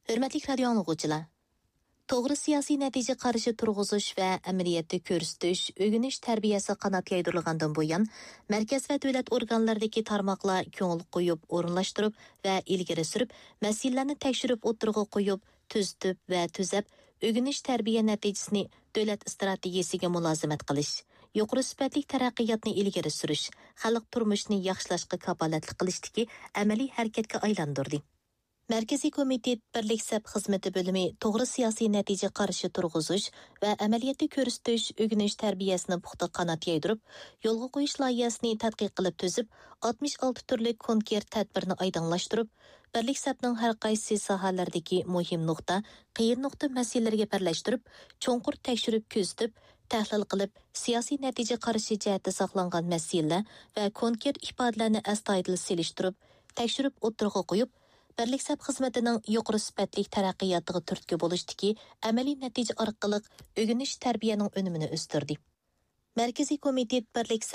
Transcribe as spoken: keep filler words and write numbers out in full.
ھۆرمەتلىك رادىيو ئاڭلىغۇچىلار! توغرا سىياسىي نەتىجە قارىشى تۇرغۇزۇش ۋە ئەمەلىيەتتە كۆرسىتىش، ئۆگىنىش تەربىيەسى قانات يايدۇرۇلغاندىن بۇيان، مەركەز ۋە دۆلەت ئورگانلىرىدىكى تارماقلار كۆڭۈل قويۇپ، ئورۇنلاشتۇرۇپ ۋە ئىلگىرى سۈرۈپ، مەسىلىلەرنى تەكشۈرۈپ ئوتتۇرىغا قويۇپ، تۈزىتىپ ۋە تۈزەپ، ئۆگىنىش تەربىيە نەتىجىسىنى دۆلەت ئىستراتېگىيەسىگە مۇلازىمەت قىلىش، يۇقىرى سۈپەتلىك تەرەققىياتنى ئىلگىرى سۈرۈش، خەلق تۇرمۇشىنى ياخشىلاشقا كاپالەتلىك قىلىشتىكى ئەمەلىي ھەرىكەتكە ئايلاندۇردى. مەركىزىي كومىتېت بىرلىك سەپ خىزمىتى بۆلۈمى توغرا سىياسىي نەتىجە قارىشى تۇرغۇزۇش ۋە ئەمەلىيەتتە كۆرسىتىش، ئۆگىنىش تەربىيەسىنى پۇختا قانات يايدۇرۇپ، يولغا قويۇش لايىھەسىنى تەتقىق قىلىپ تۈزۈپ، ئاتمىش ئالتە تۈرلۈك كونكرېت تەدبىرنى ئايدىڭلاشتۇرۇپ، بىرلىك سەپنىڭ ھەر قايسى ساھەلەردىكى مۇھىم نۇقتا، قىيىن نۇقتا مەسىلىلىرىگە بىرلەشتۈرۈپ، چوڭقۇر تەكشۈرۈپ كۆزىتىپ، تەھلىل قىلىپ، سىياسىي نەتىجە قارىشى جەھەتتە ساقلانغان مەسىلىلەر ۋە كونكرېت ئىپادىلەرنى ئەستايىدىل سېلىشتۇرۇپ، تەكشۈرۈپ ئوتتۇرىغا قويۇپ، بىرلىك سەپ خىزمىتىنىڭ يۇقىرى سۈپەتلىك تەرەققىياتىغا تۈرتكە بولۇشتىكى ئەمەلىي نەتىجە ئارقىلىق ئۆگىنىش تەربىيەنىڭ ئۈنۈمىنى ئۆستۈردى. مەركىزىي كومىتېت بىرلىك